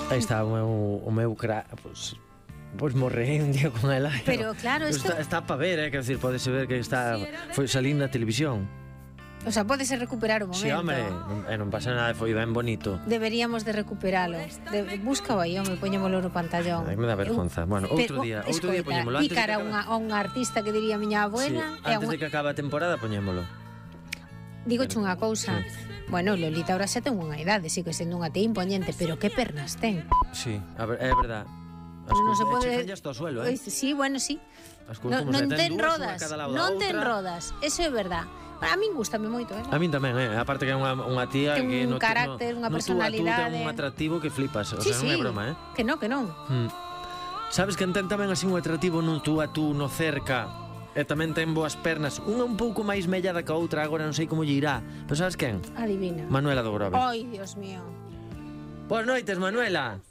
Aí está o meu crack, pois morrei un día con ela. Pero claro, isto... Está para ver, quer decir, podese ver que está foi salindo na televisión. O sea, pódese recuperar o momento. Si, home, non pasa nada, foi ben bonito. Deberíamos de recuperalo. Búscao aí, home, poñémolo no pantallón. Ai, me dá vergonza. Bueno, outro día poñémolo. Picar a un artista que diría a miña abuela. Sí, antes de que acabe a temporada, poñémolo. Digoche unha cousa. Bueno, Lolita ahora xa ten unha idade, sigue sendo unha tía impoñente, pero que pernas ten. Sí, é verdad. Non se pode... Chegan hasta o suelo, Sí, bueno, sí. Non ten rodas, non ten rodas. Eso é verdad. A min gustame moito, A min tamén, aparte que é unha tía ten que un carácter, unha personalidade. Ten un atractivo que flipas, o sea, non é broma, Que non. Sabes que ten tamén así un atractivo no tú a tú, no cerca, e tamén ten boas pernas, unha un pouco máis mellada que a outra, agora non sei como lle irá, pero sabes quen? Adivina. Manuela do Grove. Ai, Dios mío. Boas noites, Manuela.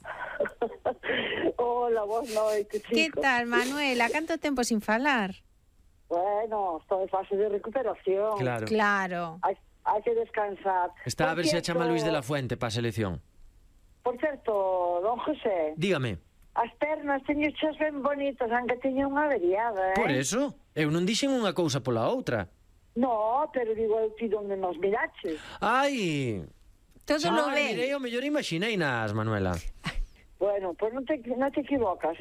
Hola, boas noites, chicos. Que tal, Manuela? Canto tempo sin falar? Bueno, estou en fase de recuperación. Claro. Hai que descansar. Está a ver se a chama Luis de la Fuente para a selección. Por certo, don José. Dígame. As pernas teño xas ben bonitas, aunque teño unha averiada, Por eso? Eu non dixen unha cousa pola outra. No, pero digo eu ti onde nos miraches. Ai... Todo lo ve. Mirei, o mellor imaginei nas, Manuela. Bueno, pues non te equivocas,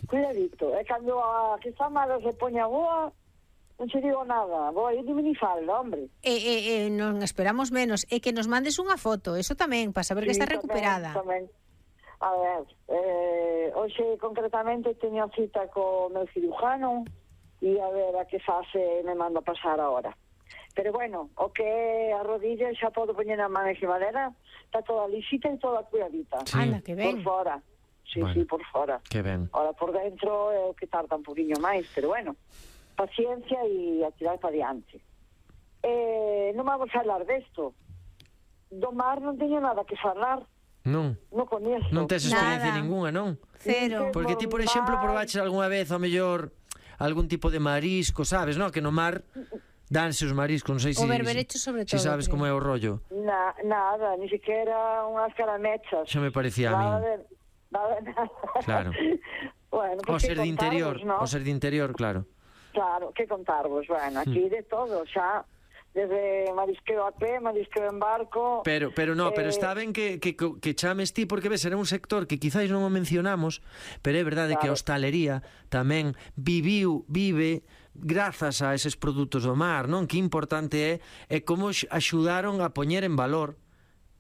Cuidadito. E cando a que está mala se poña boa, non se digo nada. Vou ir de minifalda, hombre. Non esperamos menos. E que nos mandes unha foto, eso tamén, para saber que está recuperada. Tamén. A ver, hoxe concretamente teño cita co meu cirujano e a ver a que fase me mando a pasar ahora. Pero bueno, o que a rodilla xa podo poñer a man encima dela, está toda lisita e toda cuidadita. Sí. Anda, que ben. Por fora. Sí, bueno, sí, por fora. Que ben. Ahora por dentro é o que tarda un poquinho máis, pero bueno, paciencia e a tirar para diante. Non vamos a falar desto. Do mar non teño nada que falar. Non. Non coñezo. Non tes experiencia Nada. ningunha, non? Cero. Porque ti, por exemplo, probaches algunha vez ao mellor algún tipo de marisco, sabes, non? Que no mar danse os mariscos, non sei se... O berberecho sobre todo. Se sabes como é o rollo. Nada, ni siquiera unhas caramechas. Xa me parecía a min. Nada. Claro. Bueno, O pues ser de interior, ¿no? o ser de interior, claro. Claro, que contarvos. Bueno, aquí de todo, xa. Desde marisqueo a pé, marisqueo en barco... Pero está ben que chames ti, porque ves, era un sector que quizáis non o mencionamos, pero é verdade que a hostalería tamén vive grazas a eses produtos do mar, non? Que importante é como axudaron a poñer en valor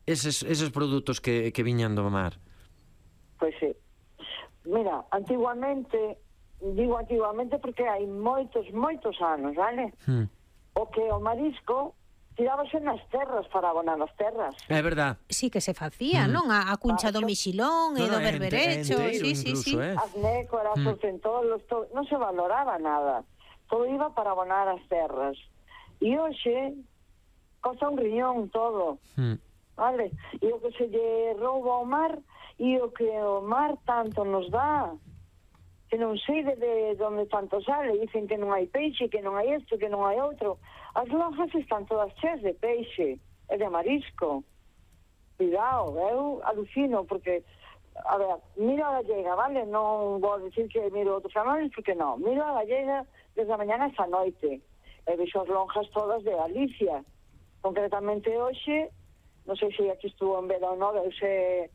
eses produtos que viñan do mar. Pois sí. Mira, antiguamente, digo antiguamente porque hai moitos anos, vale? O que o marisco tirábase nas terras para abonar as terras. É verdad. Sí que se facía, non? A cuncha do mixilón e do berberecho. Sí. As nécoras, os centolos, non se valoraba nada. Todo iba para abonar as terras. E hoxe costa un riñón todo. Vale? E o que se lle rouba ao mar e o que o mar tanto nos dá, que non sei de onde tanto sale. Dicen que non hai peixe, que non hai isto, que non hai outro. As lonjas están todas cheas de peixe e de marisco. Cuidado, eu alucino, porque, a ver, miro a gallega, vale? Non vou dicir que miro outros canales, porque non. Miro a gallega desde a mañana esta noite. E vexo as lonjas todas de Galicia. Concretamente hoxe, non sei se aquí estuvo en Vela ou non, veuse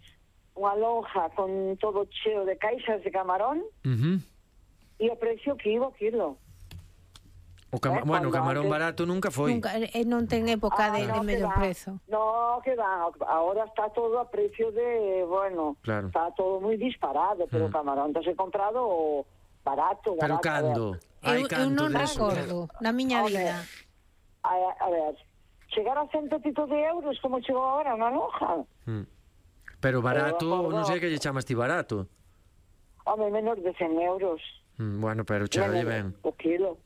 unha lonja con todo cheo de caixas de camarón e o precio que iba o kilo. Bueno, o camarón barato nunca foi. Non ten época de medio prezo. No, que va. Ahora está todo a precio de, bueno, claro. Está todo moi disparado, pero o camarón se comprado barato. Pero cando? Eu non recordo, na miña vida. A ver, chegar a 100 e pico de euros como chegou agora unha lonja. Pero barato, non sei que lle chamas ti barato. Home, menos de 100 euros. Bueno, pero chegalle ben. O kilo.